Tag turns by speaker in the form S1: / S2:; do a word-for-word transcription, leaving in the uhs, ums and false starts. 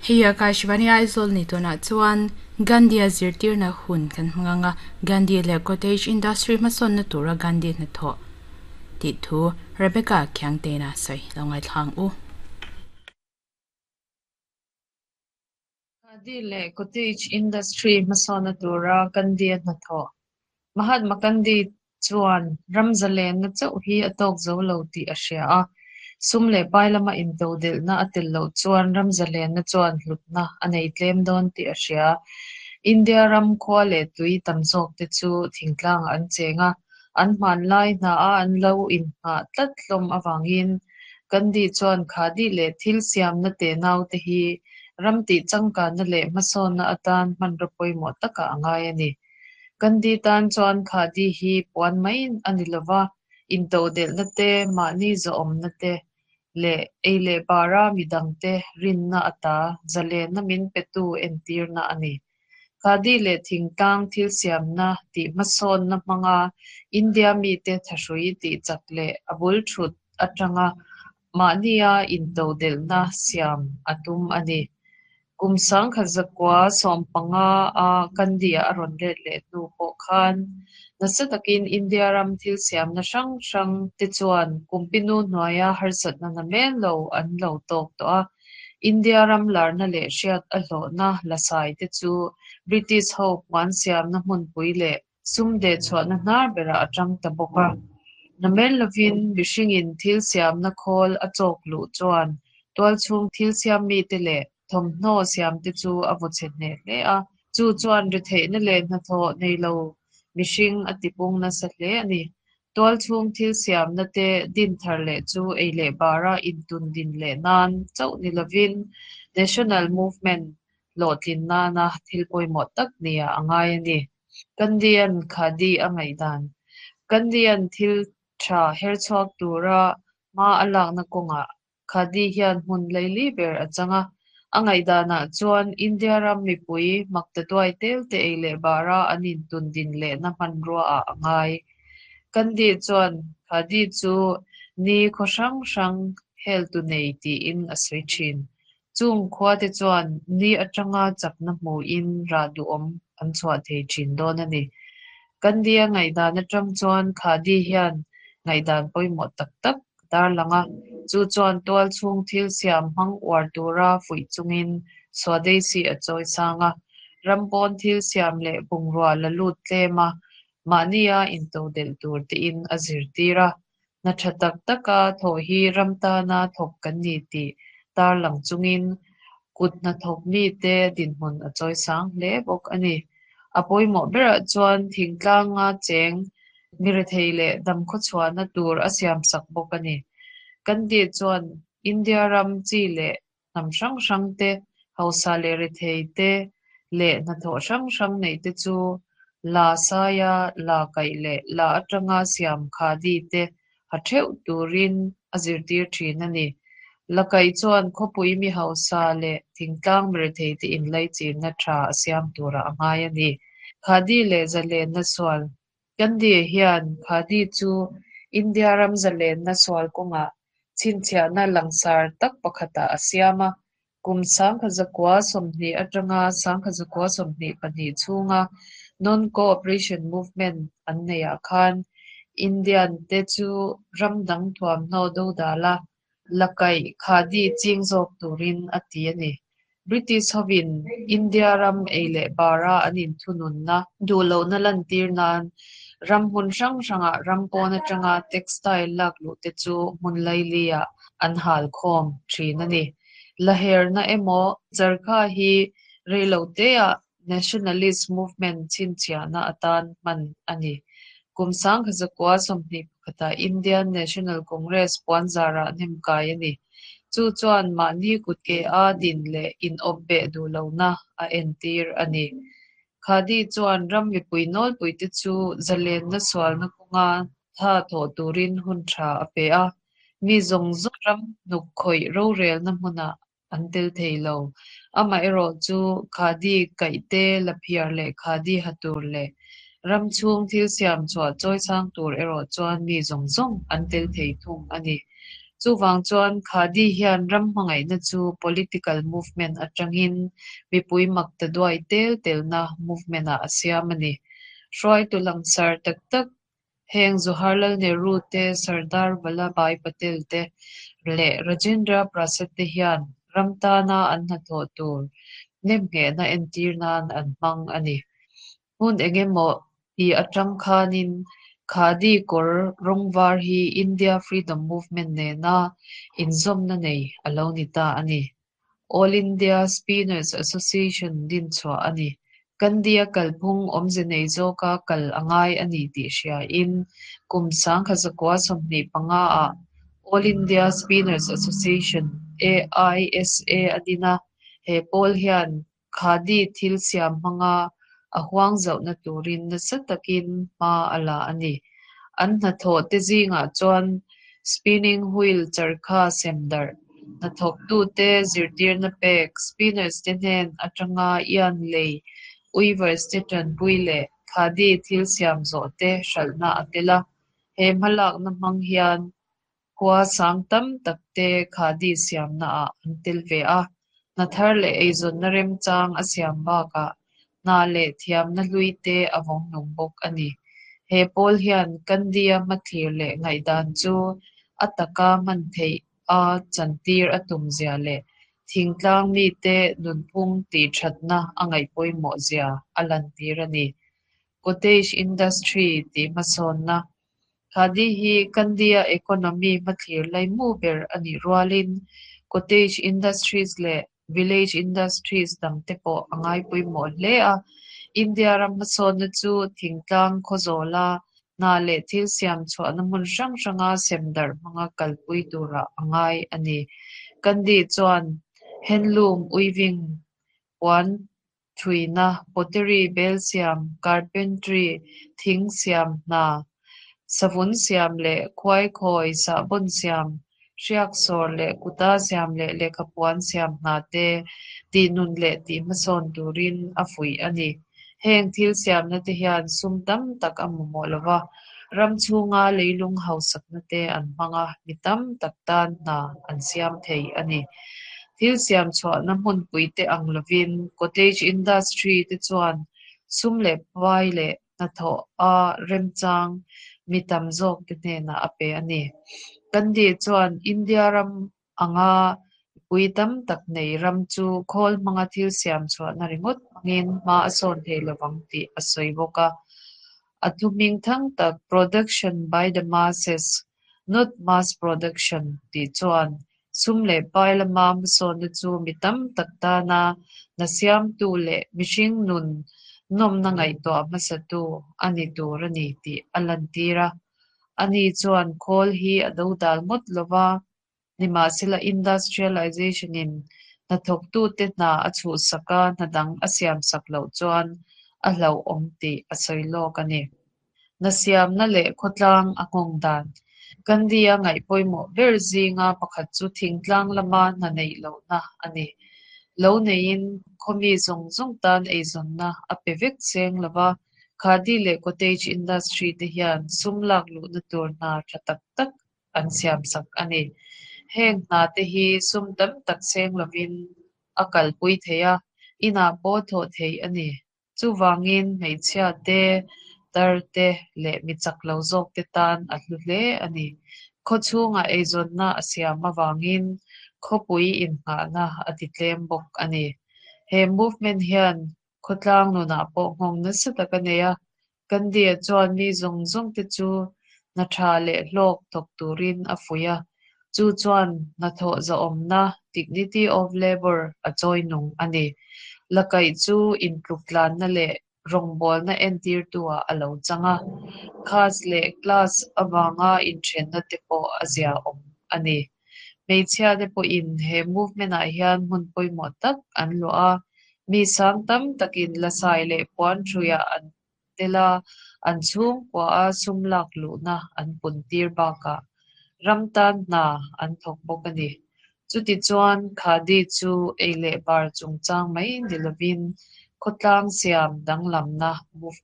S1: Hei Akashvani Aizawl ni tunah chuan Gandhi a zirtirna hun kan hmang anga Gandhi leh cottage industry hmasawnna tura Gandhi hnathawh tih thu Rebecca Khiangtena sawi lo ngaithlang u.
S2: Khadi leh cottage industry hmasawnna tura Gandhi a hnathawh. Mahatma Gandhi chuan ram zalenna chauh hi a tawk zo lo tih a hria a, sum leh pai lama intodelhna a tel loh chuan ram zalenna chuan hlutna a nei tlem dawn tih a hria. India ram khua leh tui tam zawk te chu thingtlangah an cheng a, an hmanlai hna a an lo innghah tlat hlawm avangin Gandhi chuan khadi leh thil siamna tenau te hi ram tih changkanna leh hmasawnna atan hmanraw pawimawh takah a ngai a ni. Gandhi tan chuan khadi hi puan mai a ni lova, intodelhna te, mahni zawhawmna te leh ei leh bara midang te rinna ata zalenna min petu entirna a ni. Khadi leh thingtlang thil siamna tih hmasawnna hmanga India mite thahrui tih chak leh a bul thut atanga mahnia intodelhna siam a tum a ni. Kum sangkhat zakua sawm panga a Gandhi a rawn let leh hnu pawh khan nasa takin India ram thil siamna hrang hrang te chuan kumpinu hnuaia harsatna namen lo an lo tawk tawh a. India ram larna leh hriat a hlawhna lasai te chu British ho puan siamna hmunpui leh sum deh chhuahna hnar berah a tang ta bawk a. Namen lovin mihringin thil siamna khawl a chawk luh chuan tual chhung thil siam mi te leh thawmhnaw siam te chu a vaw chhe hneh hle a. Chu chuan retheihna leh hnathawh nei lo mihring a tipung nasa hle a ni. Tual chhung thil siamna te din thar leh chu ei leh bara intun din leh nan chauh ni lovin National Movement hlawhtlin nana thil pawimawh tak nia a ngai a ni. Gandhian khadi a ngaihdan. Gandhian thil tha her chhuak tura hma a lakna kawngah khadi hian hmun laili ber a chang a. A ngaihdanah chuan India ram mipui makta tuai tel te ei leh bara an intun din lehna hmanrua ah a ngai. Gandhi chuan khadi chu ni khaw hrang hrang hel tu nei tiin a sawi thin. Chung khua te chuan ni atanga chakna hmuin rah duhawm an chhuah thei thin dawn a ni. Gandhi a ngaihdan atang chuan khadi hian ngaihdan pawimawh tak tak dar lang a. Chu chuan tual chhung thil siam hmang uar tura fuih chungin Swadeshi a chawi sang a. Ram pawn thil siam leh bungrua la lut tlem a, mahnia intodelh tur tiin a zirtir a. Hna tha tak taka thawh hi ram tana thawk kan ni tih tar lang chungin kut hnathawk mi te dinhmun a chawi sang hle bawk a ni. A pawimawh berah chuan thingtlanga cheng mirethei leh dam khaw chhuahna tur a siam sak bawk a ni. Gandhi chuan India ram chi leh hnam hrang hrang te, hausa leh rethei te leh hnathawh hrang hrang nei te chu la saia la kaih leh la atanga siam khadi te ha theuh turin a zirtir thin a ni. La kaih chuan khawpui mi hausa leh thingtlang mirethei te inlaichinna tha a siam tura a ngai a ni. Khadi leh zalenna sual. Gandhi hian khadi chu India ram zalenna sual kawngah chhinchhiahna langsar tak pakhatah a siam a. Kum sangkhat zakua sawmhnih atanga sangkhat zakua sawmhnih pahnih chhunga non-cooperation movement an neiah khan Indian te chu ram dang thuamhnaw do dala la kaih khadi ching zawk turin a ti a ni. British hovin India ram ei leh bara an inthununna duhlohna lantir nan ram hmun hrang hrangah ram pawn atanga textile lak luh te chu hmun laili ah an hal khawm thin a ni. Laherna emaw charkha hi reilo te ah nationalist movement chhinchhiahna atan hman a ni. Kum sangkhat zakua sawmhnih pakhatah Indian National Congress puan zarah hnem kai a ni. Chu chuan mahni kut ke a din leh in awp beh duhlohna a entir a ni. Khadi chuan ram mipui nawlpui te chu zalenna sualna kawnga tha thawh turin hun tha a pe a. Mi zawng zawng ram hnuk khawih rorelna hmunah an tel thei lo. Amaherawh chu khadi kaih te la phiar leh khadi ha tur leh ram chhung thil siam chhuah chawi sang tur erawh chuan mi zawng zawng an tel thei thung a ni. Chuwang chuan khadi hian ram hmangaihna chu political movement atangin mipui mak ta duai tel telna movement ah a siam a ni. Hruai tu langsar tak tak heng Jawaharlal Nehru te Sardar Vallabhbhai Patel te leh Rajendra Prasad te hian ram tana an hnathawh tur nemnghehna entir nan an hmang a ni. Hmun engemaw ti atang khanin khadi kawr rawng var hi India Freedom Movement nena inzawmna nei a lo ni ta a ni. All India Spinners Association din chhuah a ni. Gandhi-a kalphung awmze nei zawka kal a ngai a ni tih hriain kum sangkhat zakua sawmhnih panga ah All India Spinners Association A I S A a din a, he pawl hian khadi thil siam hmanga a huang zauhna turin nasa takin hma a la a ni. An hnathawh te zingah chuan spinning wheel charkha sem darh, hnathawktute zirtirna pek, spinners te hnen atanga yarn lei, weavers te tanpui leh khadi thil siam zawh te hralhna a tel a. He hmalakna hmang hian khua sang tam tak te khadi siamna ah an tel ve a. Hna thar leh eizawnna remchang a siam bakah hna leh thiamna hlui te a vawng nung bawk a ni. He pawl hian Gandhi-a hmathlir leh ngaihdan chu a taka hman theih a chantir a tum zia leh thingtlang mite nunphung tih thatna a ngaih pawimawh zia a lantir a ni. Cottage industry tih hmasawnna. Khadi hi Gandhi-a economy hmathlir laimu ber a nih rualin cottage industries leh village industries dang te pawh a ngai pawimawh hle a. India ram hmasawnna chu thingtlang khawzawla hna leh thil siam chhuahna hmun hrang hranga sem darh hmanga kalpui turah a ngai a ni. Gandhi chuan handloom weaving, puan thuina, pottery bel siam, carpentry, thing siam hna, savun siam leh khuai khawi sahbawn siam, hriak sawr leh kuta siam leh lehkha puan siam hna te tih nun leh tih hmasawn turin a fuih a ni. Heng thil siamna te hian sum tam tak a mamawh lova, ram chhunga leilung hausakna te an hmang a, mi tam tak tan hna an siam thei a ni. Thil siam chhuahna hmunpui te ang lovin cottage industry te chuan sum leh pai leh hnathawh a remchang mi tam zawk te hnenah a pe a ni. Gandhi chuan India ram anga pui tam tak nei ram chu khawl hmanga thil siam chhuahna ringawt hmangin hma a sawn thei lovang tih a sawi bawk a. A thu hming thang tak "Production by the masses, not mass production" tih chuan sum leh pai lama hmasawnna chu mi tam tak tana hna siamtu leh mihring nun nawmna ngaihtuah hmasatu a ni tur a ni tih a lantir a. Ani chuan khawl hi a dodal ngawt lova, nimahsela industrialization in hnathawktute hna a chhuhsak a, hna dang a siam sak loh chuan a hlauhawm tih a sawi lawk a ni. Hna siamna leh khawtlang a nghawng dan. Gandhi-a ngaih pawimawh ber zinga pakhat chu thingtlang lama hna neih lohna a ni. Lo neiin khawmi zawng zawng tan eizawnna a pe vek seng lova, khadi leh cottage industry te hian sum lak luhna tur hna tha tak tak an siam sak a ni. Heng hna te hi sum tam tak seng lovin a kalpui thei a, inah pawh thawh theih a ni. Chuvangin hmeichhia te, tar te leh mi chak lo zawk te tan a hlu hle a ni. Khaw chhungah eizawnna a siam avangin khawpui innghahna a ti tlem bawk a ni. He movement hian khawtlang nunah pawh nghawng nasa tak a nei a. Gandhi-a chuan mi zawng zawng te chu hna tha leh hlawk thawk turin a fuih a. Chu chuan hnathawh zahawmna dignity of labour a chawi nung a ni. Lakaih chu intluktlanna leh rawngbawlna entirtu ah a lo chang a. Caste leh class avanga inthenna te pawh a ziaawm a ni. Hmeichhia te pawhin he movement ah hian hmun pawimawh tak an luah a. Mi sang tam takin lasai leh puan thuiah an tel a, an chhungkua a sum lak luhna an pun tir bakah ram tan hna an thawk bawk a ni. Chuti chuan khadi chu ei leh bar chungchang mai ni lovin khawtlang siam danglamna movement